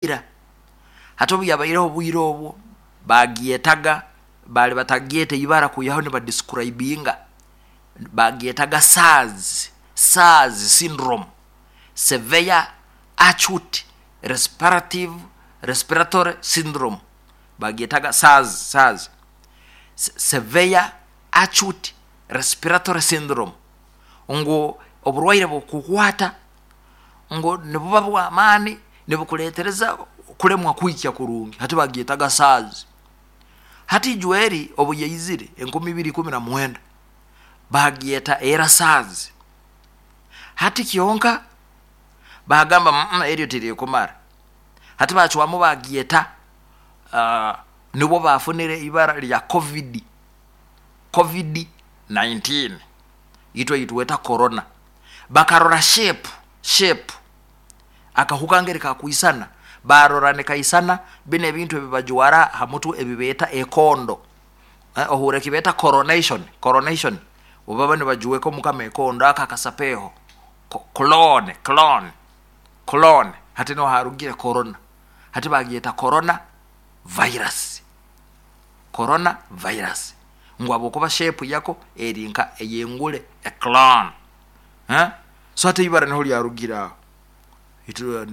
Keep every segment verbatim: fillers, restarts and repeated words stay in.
Ira hati obu yabaireho obwire obwo bagyetaga, baali batagyeta ibara kwihaho nibadescribinga, bagyetaga SARS, SARS syndrome, severe acute respirative respiratory syndrome. Bagyetaga SARS, SARS, severe acute respiratory syndrome, ngu oburwaire bukukwata ngu nibuba bwamaani, nibukuretereza kulemwa kwikya kurungi. Hati bagyetaga SARS. Hati ijweri obu yaizire enkumi ibiri ikumi na mwenda, bagyeta era SARS. Hati kyonka bagamba mm eryo tirikumara, hati bacwamu bagyeta, uh, nibwo bafunire ibara lya covid, covid nineteen, itwe itweta corona. Bakarora shape, shape akahuka ngeri kakwisana, barora nikaisana bino ebintu ebibajwara ha mutwe ebibeeta ekondo, eh, ohure ekibeeta coronation, coronation obaba nibajuweka omukama ekondo aka akasapeho clone, clone, clone. Hati niho harugire corona, hati bagyeta corona virus, corona virus, ngu habwokuba shape yako eri nka eyengule, eclone, eh? So hati ibara niho lyarugire aho,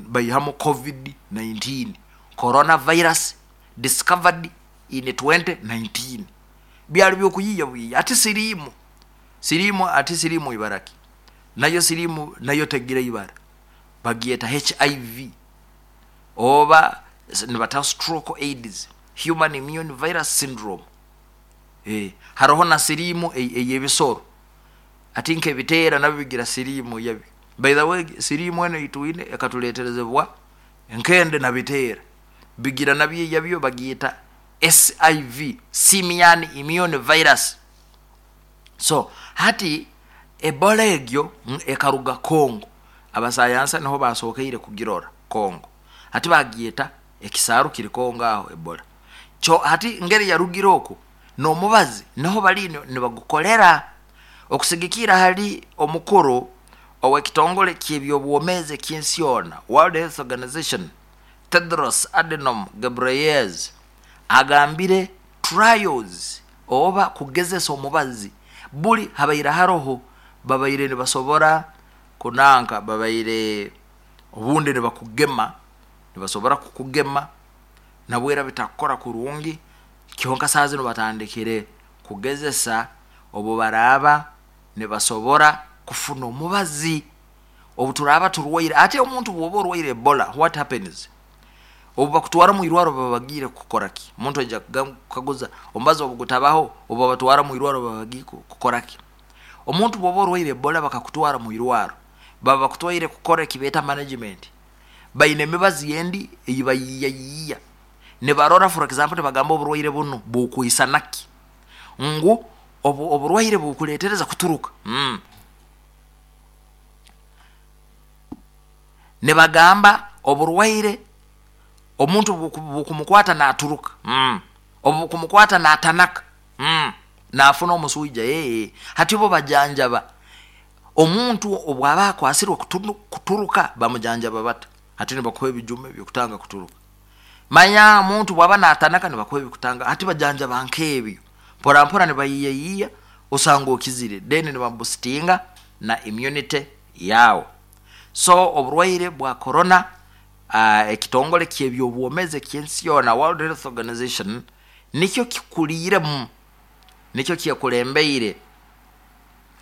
baihamu covid nineteen, corona virus discovered in twenty nineteen. Byali byokuyiiya bwiiya. Ati siriimu, siriimu, ati siriimu ibara ki? Nayo siriimu nayo tegira ibara, bagyeta H I V, oba nibata stroke AIDS, human immune virus syndrome. E, haroho na siriimu ey'ebisoro, ati nk'ebiteera nabyo bigira siriimu yabyo. By the way, siriimu eno eitwine ekatuleeterezebwa nkende na biteera, bigira nabyo eyabyo, bagyeta S I V, simian immune virus. So hati Ebola egyo ekaruga Congo, abasayansa niho basokeire kugirora Congo, hati bagyeta ekisaaru kiri Congo aho Ebola. Kyo hati ngeri yarugire oku n'omubazi niho bali nibagukolera okusigikira hali omukuru ow'ekitongole ky'ebyobwomeezi eky'ensi yoona, World Health Organization, Tedros Adhanom Ghebreyesus, agambire trials oba kugezesa omubazi buli habaire haroho, babaire nibasobora kunanka, babaire obundi nibakugema, nibasobora kukugema nabwera bitakukora kurungi. Kyonka saaha zinu batandikire kugezesa obu baraaba nibasobora kufuna omubazi obu turaaba turwaire. Ate omuntu bwoba orwaire Ebola, what happens? Obu bakutwara mu irwaro baba bagiire kukora ki? Omuntu aija kukaguza omubazi obu gutabaho, obu babatwara mu irwaro baba bagiire kukora ki? Omuntu bwoba orwaire Ebola bakakutwara mu irwaro, baba bakutwaire kukora ekibeeta management. Baine emibazi endi eyibayiiyayiiya, nibarora, for example, nibagamba oburwaire bunu bukwisana ki, ngu obu oburwaire bukuleetereza kuturuka. Mm. Nibagamba oburwaire omuntu bukumukwata naturuka, mm. Obu bukumukwata natanaka, mm. Nafuna omuswija. Ee, hati bo bajanjaba omuntu obwaba akwasirwe kuturuka, bamujanjaba bata? Hati nibakuha ebijume byokutanga kuturuka. Manya omuntu bwaba natanaka nibakuha ebikutanga, hati bajanjaba nk'ebyo mpora mpora nibayiiyayiiya, osanga okizire, then nibabusitinga na immunity yawe. So oburwaire bwa corona, uh, ekitongole ky'ebyobwomeezi eky'ensi yoona, World Health Organization, nikyo kikuliiremu, nikyo kyekulembeire,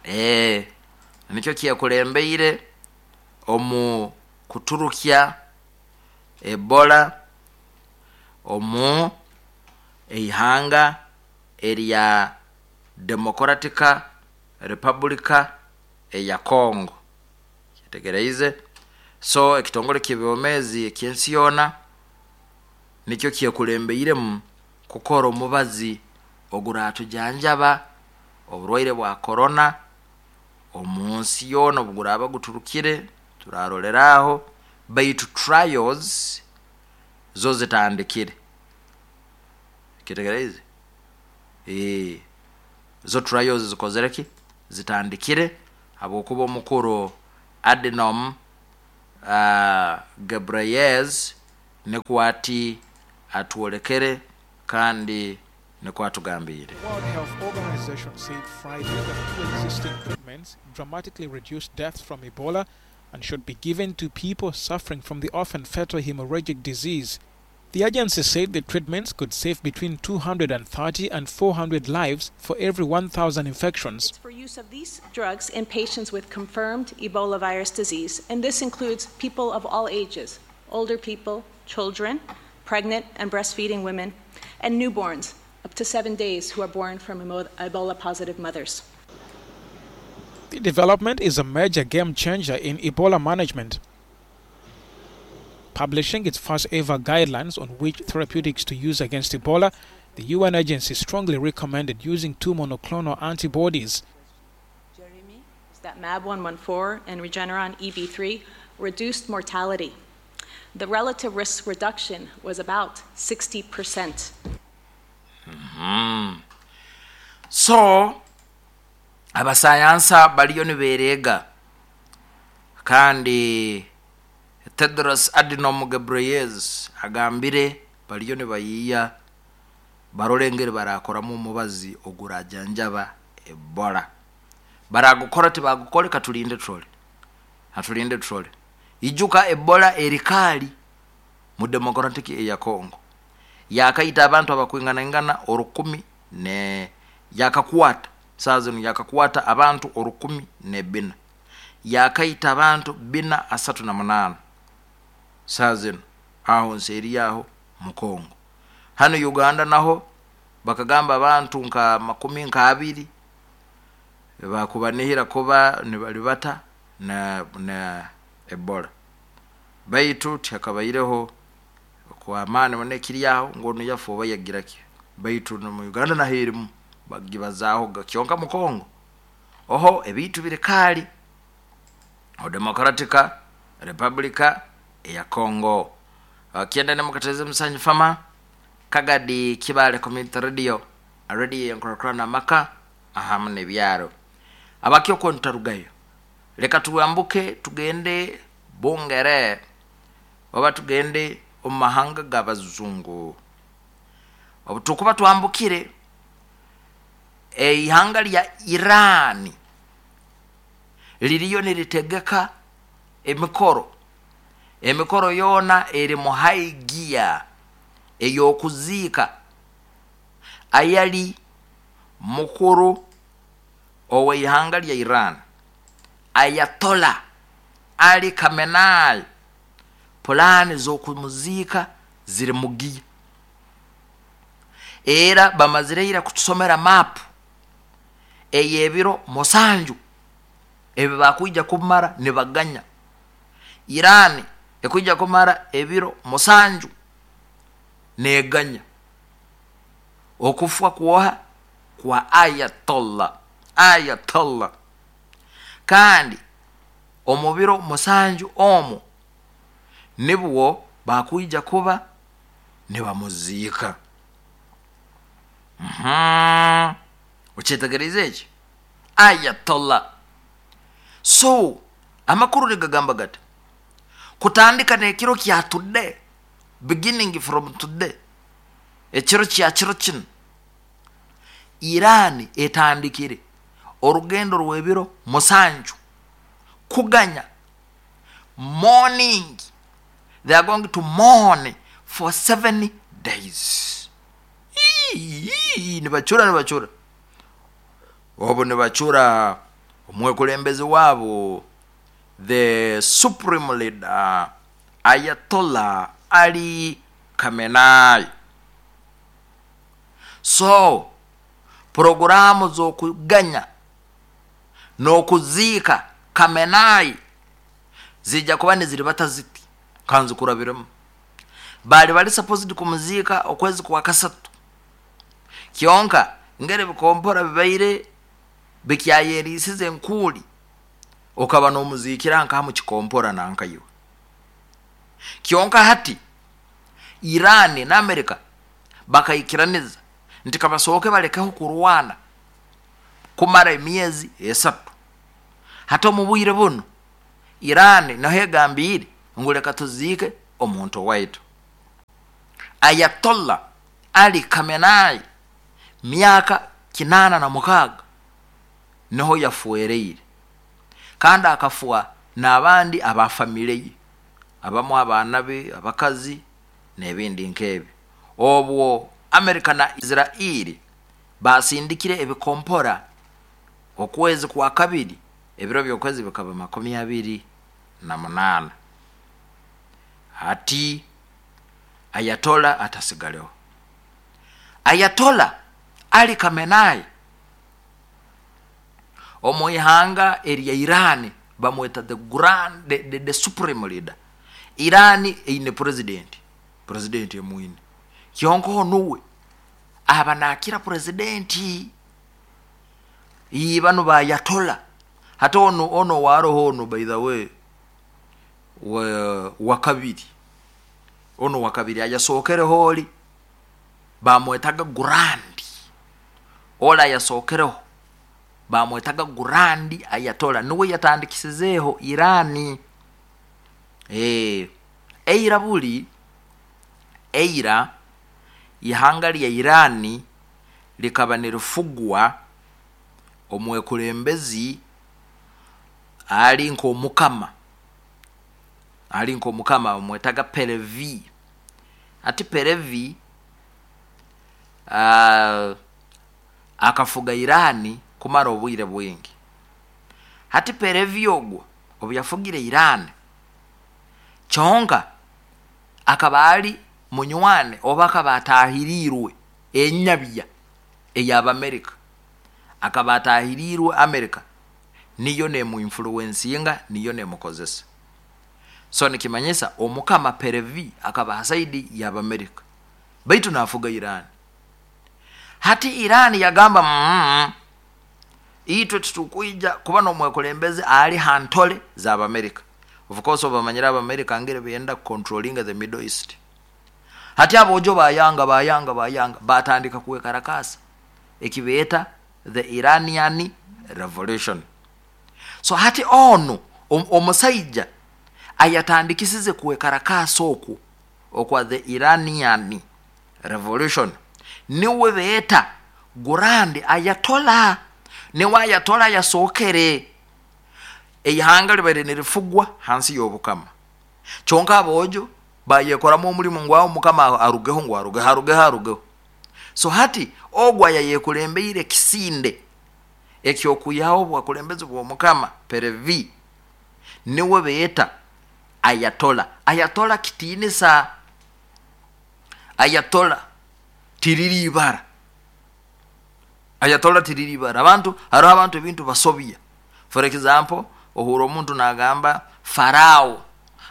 eh, nikyo kyekulembeire omu kuturukya Ebola omu eihanga erya Democratic Republic eya Congo. Kyetegereize? So ekitongole ky'ebyomeezi eky'ensi yoona nikyo kyekulembeiremu kukora omubazi oguratujanjaba oburwaire bwa corona omu nsi yoona. Obu guraaba guturukire turarolera aho, baitu trials zo zitandikire. Kyetegereize? Ee, zo trials zikozire ki? Zitandikire, habwokuba omukuru Adhanom uh, Ghebreyesus Nikwo ati atwolekere kandi nikwo atugambire. The World Health Organization said Friday that two existing treatments dramatically reduce deaths from Ebola and should be given to people suffering from the often fatal hemorrhagic disease. The agency said the treatments could save between two hundred thirty and four hundred lives for every one thousand infections. It's for use of these drugs in patients with confirmed Ebola virus disease, and this includes people of all ages, older people, children, pregnant and breastfeeding women, and newborns up to seven days who are born from Ebola positive mothers. The development is a major game changer in Ebola management. Publishing its first ever guidelines on which therapeutics to use against Ebola, the U N agency strongly recommended using two monoclonal antibodies. Jeremy, is that MAB one one four and Regeneron E V three reduced mortality. The relative risk reduction was about sixty percent. So abasayansa baliyo nibereega, kandi Tedros Adhanom Ghebreyesus agambire baliyo nibayiiya barole engeri barakoramu omubazi ogurajanjaba Ebola. Baragukora tibagukole, katulinde turole, atulinde turole. Ijuka Ebola erikaali mu Democratic eya Congo, yakaita abantu abakwinganaingana orukumi ne yakakwata saa zino yakakwata abantu orukumi nebina, yakaita abantu bina asatu na munaana saa zino aho nseeri yaho mu Congo. Hano Uganda naho bakagamba abantu nka makumi nka abiri bakubanihira kuba nibalibata na, na Ebola, baitu tihakabaireho kwa maani muno ekiri aho ngu onu yafa oba yagira ki, baitu mu Uganda naho erimu bagibazaaho. Kyonka mu Congo oho ebintu biri kaali o Democratica Republica eya Congo. Kyenda nemukateze musanju fama Kagadi Kibale Community Radio, radio yenkurakurana amaka ahamu nebyaro abakyo ntarugayo. Leka tuambuke tugende Bungere oba tugende omu mahanga g'abazungu. Obu tukuba twambukire eihanga lya Irani liriyo niritegeka emikoro, emikoro yoona eri mu high gear ey'okuziika ayali mukuru ow'eihanga lya Iran, Ayatollah Ali Khamenei. Pulaani z'okumuziika ziri mu gear, era bamazire ira kutusomera maapu ey'ebiro musanju ebi bakwija kumara nibaganya. Irani ekwija kumara ebiro musanju neganya okufa kwoha kwa Ayatollah Ayatollah kandi omu biro musanju omwo nibwo bakwija kuba nibamuziika. Mhm. Okyetegereze eki Ayatollah. So amakuru nigagamba gati kutandika nekiro kya today, beginning from today, ekiro kya kiro kino, Irani etandikire orugendo rw'ebiro musanju kuganya, mourning. They are going to mourn for seven days. Ii, nibacura nibacura obu nibacura omwekulembezi waabo, the supreme leader, Ayatollah Ali Khamenei. So poroguramu z'okuganya n'okuziika Khamenei zijja kuba niziribata ziti, kanzikurabiremu. Bali bali supposed kumuziika okwezi kwa kasatu, kyonka ngeri bikompora bibaire bikyayerisize enkuuli okaba n'omuziikira nkaha mukikompora nankaiwe. Kyonka hati Irani na Amerika bakaikiraniza nti kabasooke balekeho kurwana kumara emyezi esatu. Hati omu bwire buno Irani naho egambire ngu leka tuziike omuntu waitu. Ayatollah Ali Khamenei myaka kinana na mukaaga niho yafuereire, kandi akafwa n'abandi aba famire ye, abamu abaana be, abakazi n'ebindi nk'ebyo. Obwo Amerika na Israeli basindikire ebikompora okwezi kwa kabiri, ebiro by'okwezi bikaba makumi abiri na munaana. Hati Ayatollah atasigaleho. Ayatollah Ali Khamenei omu ihanga erya Iran bamweta the grand the, the, the supreme leader. Iran eine president, president emwine kyonka nuwe aba nakira president iyi bano ba Ayatollah. Hata ono ono waroho ono, by the way, wa, wa kabiri, ono wa kabiri ayasokereho oli bamwetaga Grand, ola ayasokereho bamwetaga Grand Ayatollah, niwe yatandikisizeeho Irani. Eh, eira buli eira ihanga lya Irani likaba nirifugwa omwekulembezi ali nk'omukama, ali nk'omukama bamwetaga Pahlavi. Ati Pahlavi uh, akafuga Irani kumara obwire bwingi. Hati Pahlavi ogwo obu yafugire Irani kyonka akaba ali munywane oba akaba atahirirwe enyabya ey'Abamerika, akaba atahirirwe Amerika niyo nemuinfluencinga, niyo nemukozesa. So nikimanyisa omukama Pahlavi akaba hasaidi y'Abamerika baitu nafuga Irani. Hati Irani yagamba mm, itwe tutukwija kuba n'omwekulembeze ali hantole z'Abamerika. Of course obamanyira Abamerika ngere benda controlling the Middle East. Hati abojo bayanga bayanga bayanga batandika kuwekarakasa ekibeeta the Iranian Revolution. So hati ono omusaija ayatandikisize kuwekarakasa okwo okwa the Iranian Revolution niwe beeta Grand Ayatollah, niwe Ayatollah yasookere. Eihanga libaire nirifugwa hansi y'obukama, kyonka abojo bayekoramu omulimu ngu awo mukama arugeho, ngu arugeho, arugeho, arugeho. So hati ogwo yayeekulembeire kisinde ekyokuyaho obwakulembezi bw'omukama Pahlavi niwe beeta Ayatollah. Ayatollah kitiinisa, Ayatollah tiriri ibara, Ayatollah tiriri ibara. Abantu hariho abantu ebintu basobya. For example, ohura omuntu nagamba Farao,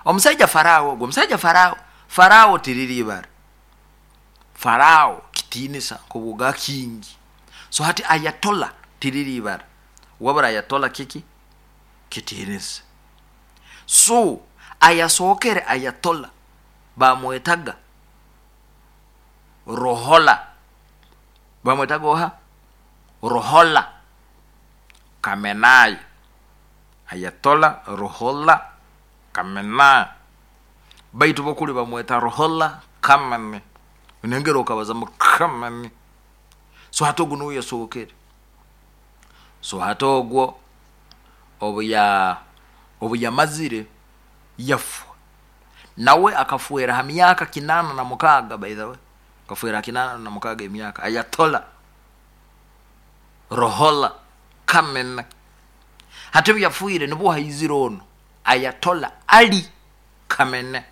omusaija Farao, ogwo omusaija Farao, Farao tiriri ibara, Farao kitiinisa nkobuga kingi. So hati Ayatollah tiriri ibara, wabura Ayatollah kiki kitiinisa. So ayasookere Ayatollah bamwetaga Ruhollah, bamwetaga oha Ruhollah Khamenei, Ayatollah Ruhollah Khamenei, baitu bokuli bamweta Ruhollah Khamenei, nengero okabaza mu Khamenei. So hati ogu niwe yasookere. So hati ogwo obu obu yamazire yafwa, nawe akafuera ha myaka kinana na mukaaga. By the way, akafuera kinana na mukaaga emyaka Ayatollah Ruhollah Khamenei. Hati obu yafuire nibwo haizire ono Ayatollah Ali Khamenei.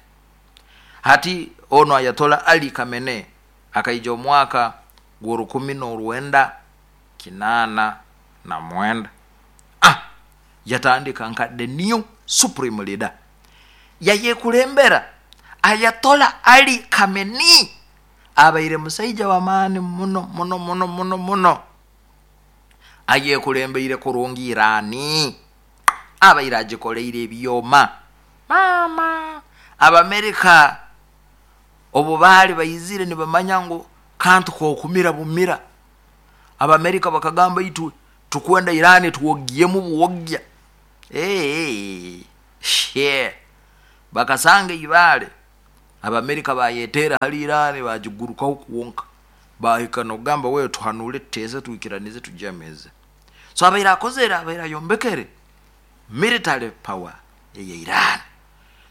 Hati ono Ayatollah Ali Khamenei akaija omwaka gw'orukumi n'orwenda kinana na mwenda. Ah, yatandika nka the new supreme leader, yayekulembera Ayatollah Ali Khamenei abaire musaija w'amaani muno muno muno muno muno, ayekulembeire kurungi Irani, abaire agikoleire ebyoma mama. Abamerika obu baali baizire nibamanya ngu kantu kokumira bumira, Abamerika bakagamba itwe tukwenda Irani tuwogiyemu buwogya. Hey, shit. Bakasanga ibale Abamerika bayetera hali Irani bagigurukaho kuwonka, bahika nokugamba wewe tuhanule tuteze tuikiranize tujameze. So abaire akozere, abaire ayombekere military power ya Iran.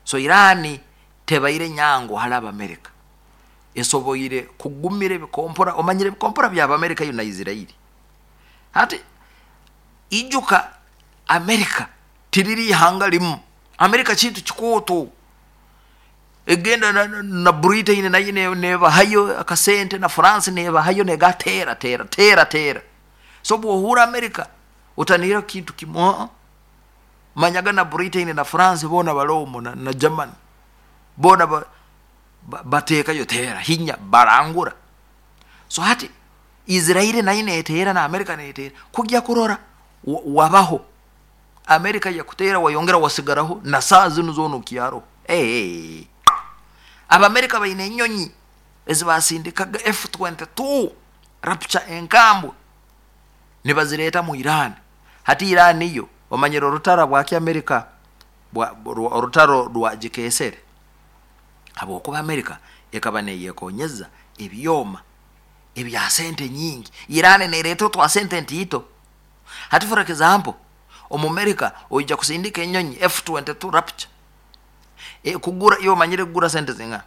So Irani tebaire nyango hali Abamerika, esoboire kugumira ebikompora. Omanyire ebikompora bya Abamerika yo na Israeli. Hati ijuka Amerika tiriri ihanga limu. Amerika kintu kikooto, egenda na, na, na Britain nayo nebahayo akasente, na France nebahayo, negatera tera tera tera. So bwohura Amerika utanira kintu kimwe, manyaga na Britain na France bona balomo na, na Germany bona ba, ba, batekayo tera hinya barangura. So hati Israeli nayo netera na Amerika netera kujya kurora wabaho Amerika yakutera wayongera wasigaraho na saa zino zona okyaro. Hey, Abamerika baine enyonyi ezibasindikaga F twenty-two Rapture enkambwe nibazireta mu Iran. Hati Iran iyo omanyire orutaro bwaki Amerika bwa orutaro rwa gikesere, habwokuba Amerika ekaba neyekonyeza ebyoma ebya sente nyingi. Iran nereta twa sente ntito. Hati for example omu Amerika oija kusindika enyonyi F twenty-two Rapture e, kugura iyo manyire kugura sente zinga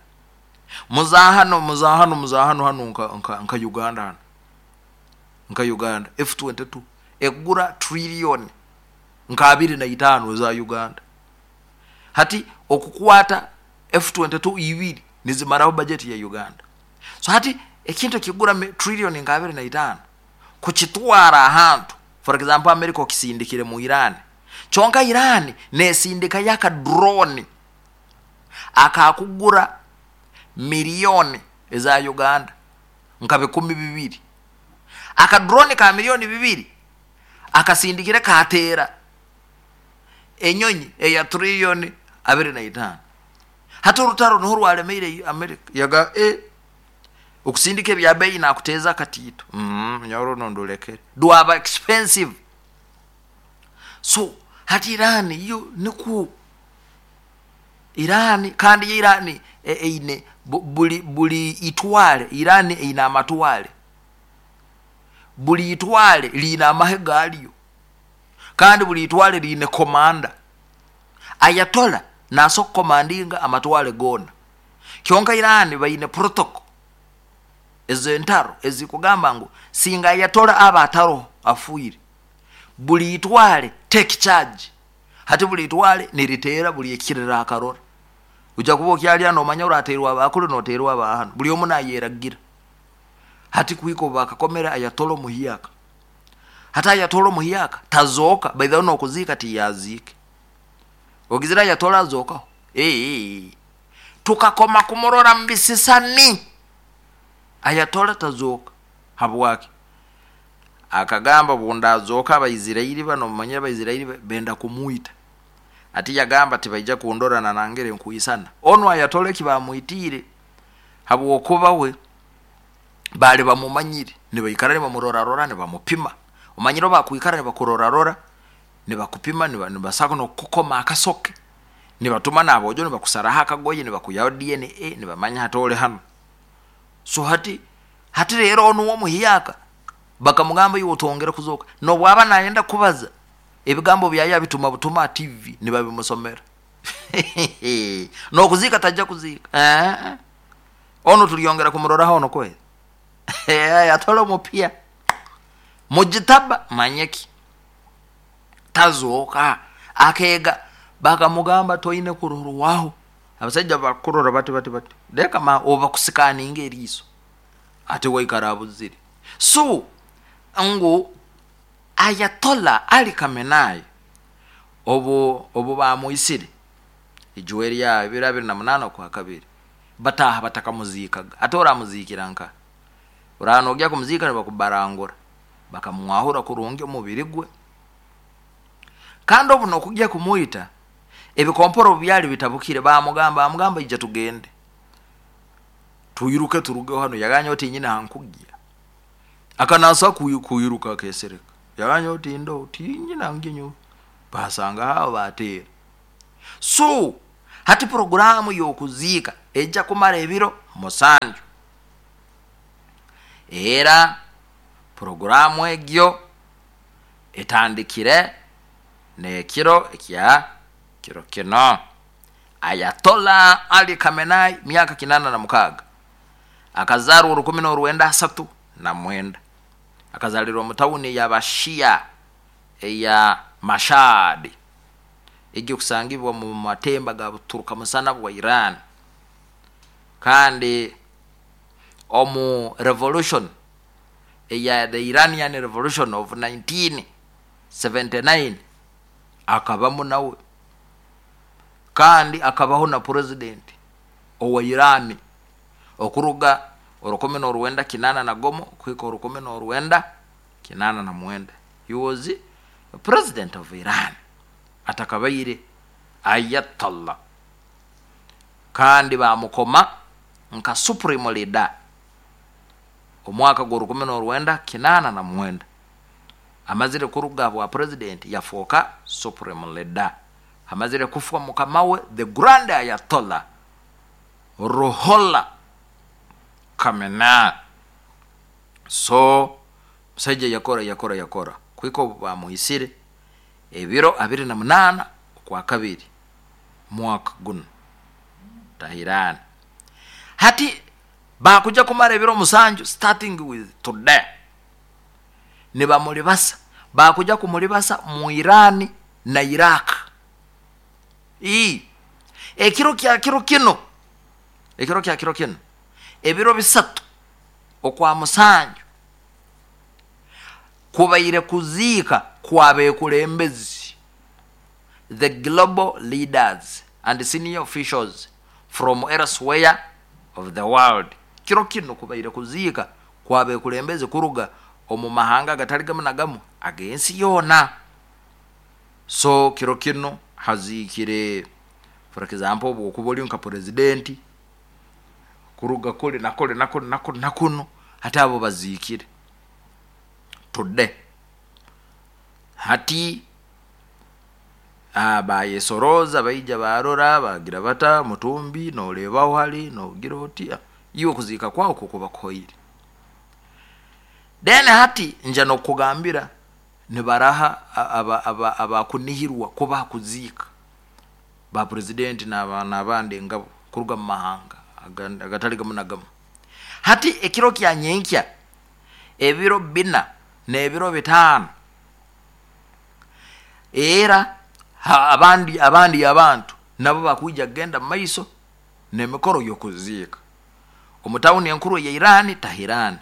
muzahano muzahano muzahano hano nka, nka, nka Uganda hano nka Uganda F twenty-two ekugura trillion nka abiri na itano za Uganda. Hati okukwata F twenty-two ibiri nizimaraho budget ya Uganda. So hati ekintu kigura trillion nka abiri na itano kukitwara ahantu, for example America okisindikire mu Iran, chonka Iran nesindika yaka drone akakugura milioni eza Uganda nka bikumi bibiri. Aka drone ka milioni bibiri akasindikire katera enyonyi eya trillion abiri na itano. Hati orutaro niho rwaremeire America yaga e okusindika ebya bei nakuteza katito mm nyoro nondolekere dwaba expensive. So hati Iran yo niku Iran kandi Iran eine buli buli itwale Iran ina amatwale, buli itwale lina amahe galiyo, kandi buli itwale line komanda. Ayatola naso komandinga amatwale gona. Kyonka Iran bayine protocol ezentaro ezikugamba ngu singa ayatola aba ataro afuire buli itwale take charge. Hati buli itwale niritera buli ekirira akarora uja kuba okyali ano omanya oraterwa abakulu noterwa abahano buli omu nayeragira. Hati kuiko bakakomera ayatola muhiyaka. Hata ayatola muhiyaka tazoka by the no kuzika tiyazike ogizira ayatola azoka eh tukakoma kumurora mbisisani ayatola tazoka habwaki. Akagamba bunda azoka abaisiraeli bano manya abaisiraeli benda kumuita. Ati yagamba tibaija kundora na nangere nkuisana ono ayatole kibamuitire habwokuba we bali bamumanyire nibaikara nibamurora rora nibamupima. Omanyiro bakuikara nibakurora rora nibakupima nibasako nokukoma akasoke nibatuma nabojo nibakusaraha akagoye nibakuyaho D N A nibamanya hatole hano. So hati hati rero ono wo muhiyaka bakamugamba yuwo tongera kuzoka no bwaba nayenda kubaza ebigambo byaya bituma butuma T V nibabimusomera no kuzika tajja kuzika eh ono tuliyongera kumurora hono kwe eh atolo mupia mujitaba manyeki tazoka akega bakamugamba toine kurorwaho. Abasajja bakurora bati bati bati leka ma oba kusikaninga eriso ate waikarabuzire. So ngu Ayatollah Ali Khamenei obo obo bamuisire ijuweri ya bibiri abiri na munana kwa kabiri bataha batakamuzikaga ate oramuzikira nka uranogya kumuzika bakubarangura bakamwahura kurungi omubiri gwe. Kandi obu nokujya kumuita ebikomporo byali bitabukire bamugamba amugamba ija tugende tuyiruke turuge hano yaganya oti nyina hankujya akanasa kuyiruka kesereka yaganya oti ndo oti nyina nginyo basanga hao batera. So Hati programu y'okuziika ejja kumara ebiro musanju. Era programu egyo etandikire n'ekiro ekya kiro kino. Ayatollah Ali Khamenei, myaka kinana na mukaaga, akazarwa orukumi n'orwenda asatu na mwenda, akazalirwa mu tawuni ya Bashia eya Mashhad, ejyo kusangibwa mu matemba ga buturuka musana bwa Iran. Kandi omu revolution eya the Iranian Revolution of nineteen seventy-nine akabamu nawe, kandi akabaho na president owa Iran okuruga orukumi n'orwenda kinana na gomo kuhika orukumi n'orwenda kinana na mwenda. He was the president of Iran atakabaire Ayatollah, kandi bamukoma nka supreme leader omwaka gw'orukumi n'orwenda kinana na mwenda. Amazire kuruga bwa president yafuuka supreme leader, amazire kufwa mukama we the grand Ayatollah Ruhollah Khamenei. So musajja yakora yakora yakora kuhika obu bamuhisire ebiro abiri na munaana okwa kabiri mwaka guno Tehran. Hati bakuja kumara ebiro musanju starting with today, nibamulibasa, bakuja kumulibasa mu Iran na Iraq. Ii ekiro kya kiro kino, ekiro kya kiro kino, ebiro bisatu okwa musanju kubaire kuziika kwabekulembezi, the global leaders and senior officials from elsewhere of the world. Kiro kino kubaire kuziika kwabekulembezi kuruga omu mahanga agatali gamu na gamu ag'ensi yoona. So kiro kino haziikire, for example, obwokuba ori nka president kuruga kuli na kuli na kuli na kuli na kuno, hati abo baziikire today. Hati bayesoroza baija barora bagira bata mutumbi norebaho hali nogira oti iwe kuziika kwawo kukuba kuhoire. Then hati nja nokugambira nibaraha abakunihirwa kuba kuziika ba president n'abandi ngabo kuruga mu mahanga agatali gamu na gamu. Hati ekiro kya nyenkya ebiro bina n'ebiro bitaano, era abandi abandi abantu nabo bakuija kugenda mu maiso n'emikoro y'okuziika omu tawuni enkuru ya Iran, Tehran.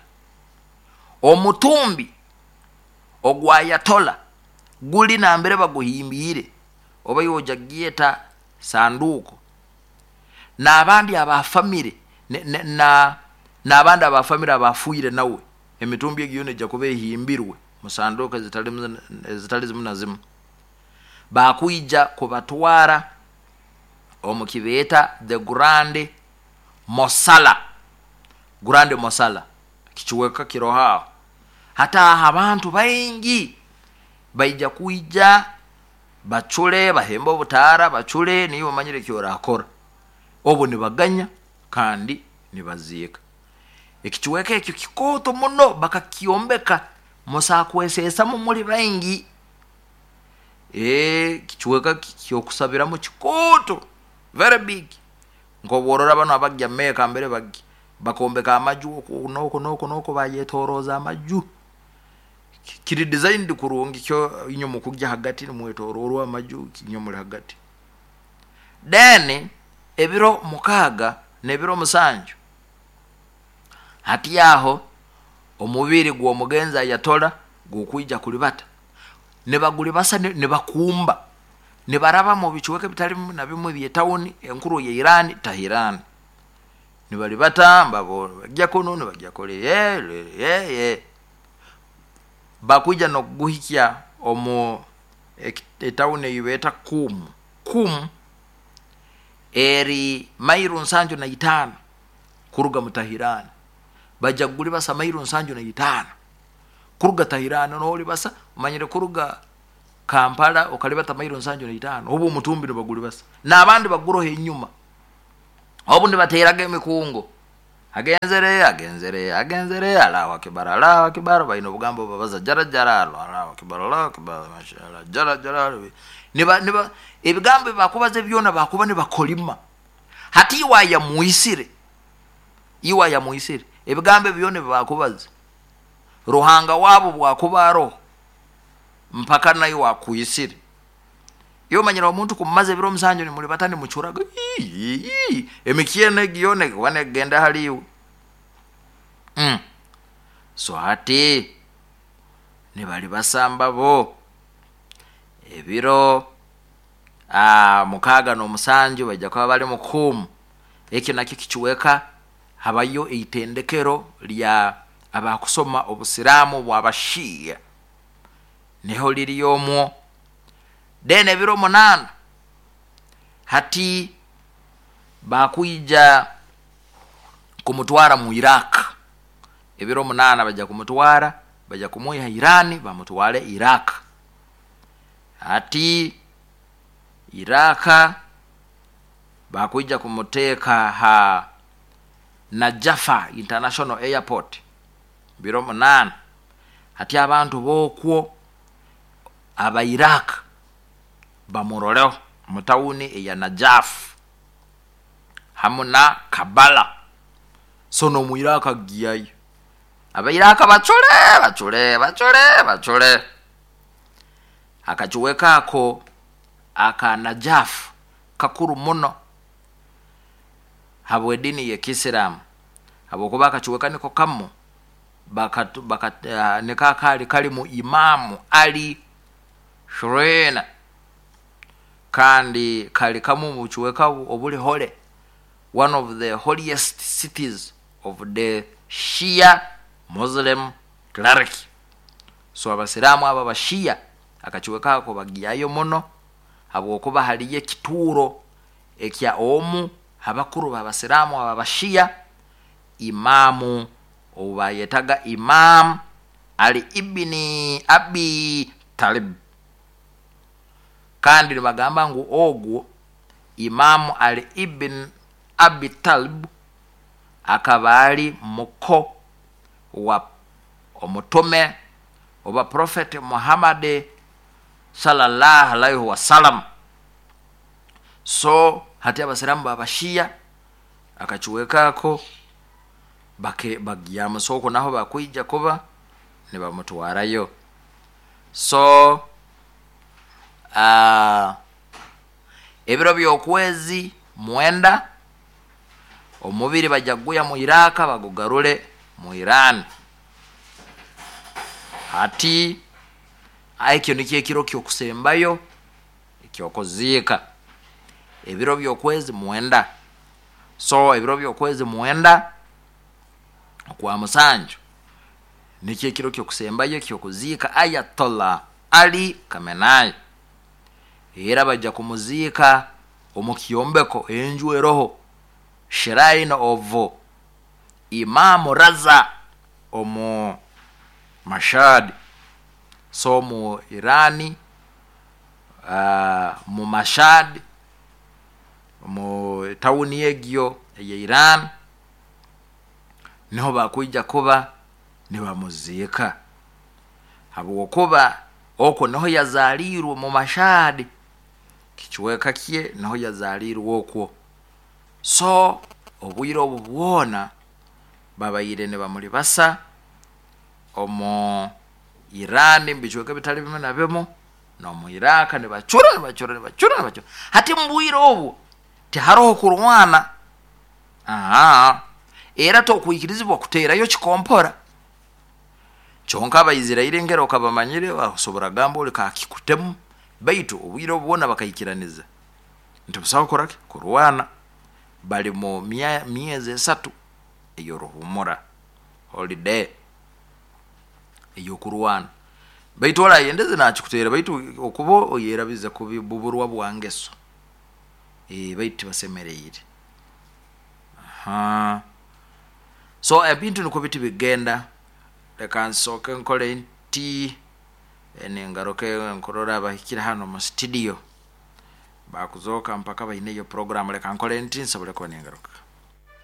Omutumbi ogwa Ayatollah guli nambere baguhimbiire oba yoja gyeta sanduko, n'abandi abafamire na n'abandi abafamire abafuire nawe emitumbi egyo nejja kuba ehimbirwe mu sanduko ezitali ezitali zimu na zimu. Bakuija kubatwara omu kibeeta the Grand Mosala, Grand Mosala kikiweka kiroha. Hata abantu baingi baija kuija bacule bahemba obutara bacule niyo bamanyire kyorakora obo nibaganya kandi nibaziika. Ekikiweka ekyo kikoto muno bakakiombeka musakwesesa muli baingi. Eh kikiweka kyokusabiramu kikoto very big, nkoborora bano abajja Meka mbere bagi bakombeka amaju oku noko noko noko bayetoroza amaju kiri designed kurungi kyo inyo mukujja hagati nimwetororwa amaju kinyo muli hagati. Then ebiro mukaga n'ebiro musanju hati yaho omubiri gw'omugenzi Ayatollah gukwija kulibata nebagulibasa nebakumba nebaraba mu bikiweke bitali na bimwe bye tawuni enkuru ya Iran, Tehran. Nibalibata mbabo bajja kuno nibajja kole ye ye ye bakuja nokuguhikya omu etawuni eyibeta Kum. Kum eri mairu nsanju na itaano kuruga mu Tehran. Bajja kugulibasa mairu nsanju na itaano kuruga Tehran nolibasa manyire kuruga Kampala okalibata mailo nsanju na itaano, obu omutumbi nibagulibasa n'abandi baguroho enyuma, obu nibateeraga emikungo, agenzere agenzere agenzere, Allahu akbar, Allahu akbar. Baina obugambo babaza jara jara, Allahu akbar, Allahu akbar, mashallah, jara jara. Niba niba ebigambo bakubaza byona bakuba nibakolima. Hati iwa yamuisire, iwa yamuisire ebigambo byona bakubaza, Ruhanga wabo bwakuba aroho mpaka nayo wakuisire. Iyo manyira omuntu kumaze ebiro musanju nimuli batani mucuraga emikyene giyone wane genda haliwe. Mm. So hati nibali basamba bo ebiro ah mukaga n'omusanju bajja kuba bali mukumu. Ekyo nakyo kikiweka habayo eitendekero lya abakusoma obusiraamu bw'abashiya, niho liri omwo. Then ebiro munaana hati bakwija kumutwara mu Iraq. Ebiro munaana bajja kumutwara, bajja kumuiha Irani bamutwale Iraq. Hati Iraq bakwija kumuteka ha Najafa International Airport biro munaana. Hati abantu bokwo aba Iraq bamuroleho mu tawuni eya Najaf hamu na Kabala. So no mu Iraq agiyayo, aba Iraq bacule bacule bacule bacule. Akakiweka ako aka Najaf kakuru muno habwe dini ya Kisilamu, habwokuba akakiweka niko kamu bakatu bakat, uh, nikakali kali mu Imamu Ali Shurena, kandi kali kamu mu kiweka obuli hole, one of the holiest cities of the Shia Muslim cleric. So abasiramu aba bashia akakiweka ako bagiyayo muno habwokuba haliyo ekituuro ekya omu abakuru babasiramu aba bashia, imamu obayetaga Imam Ali ibni Abi Talib. Kandi nibagamba ngu ogwo Imamu Ali ibn Abi Talib akaba ali muko wa omutume oba Prophet Muhammad sallallahu alaihi wasallam. So hati abasiramu babashia akakiwekako bake bagyamusoko naho bakwija kuba nibamutwarayo. So uh, ebiro by'okwezi mwenda omubiri bajja guya mu Iraq bagugarule mu Iran. Hati ekyo nikyo ekiro ky'okusembayo ekyokuziika, ebiro by'okwezi mwenda. So ebiro by'okwezi mwenda kwa musanju nikyo ekiro ky'okusembayo ekyokuziika Ayatollah Ali Khamenei. Era bajja kumuziika omu kyombeko enju eroho Shrine of Imam Raza omu Mashhad. So mu Irani, uh, mu Mashhad mu tawuni egyo eye Iran niho bakwija kuba nibamuziika, habwokuba okwo niho yazaalirwe mu Mashhad, kikiweka kye niho yazaalirwe okwo. So obwire obu bwona babaire nibamulibasa omu Iran mbikiweka bitali bimu na bimu n'omu Iraq nibacura nibacura nibacura nibacura. Hati mbwire obwo tiharoho kurwana, aha era tokwikirizibwa kuteerayo kikompora. Kyonka abaisirairi ngero okabamanyire basobora gamba oli kakikutemu, baitu obwire obwona bakaikiraniza nti busaho koraki kurwana. Bali mu myezi esatu ey'oruhumura holiday ey'okurwana, baitu orayendeze nakikuteera, baitu okuba oyerabiza kubibuburwa bwangeso e, baitu tibasemereire. Aha, so ebintu niko biti bigenda. Leka nsooke nkole nti Ningaruke nkurora abahikire hano mu studio, bakuzoka mpaka baineyo program. Leka nkole nti nsobole kuba ningaruka.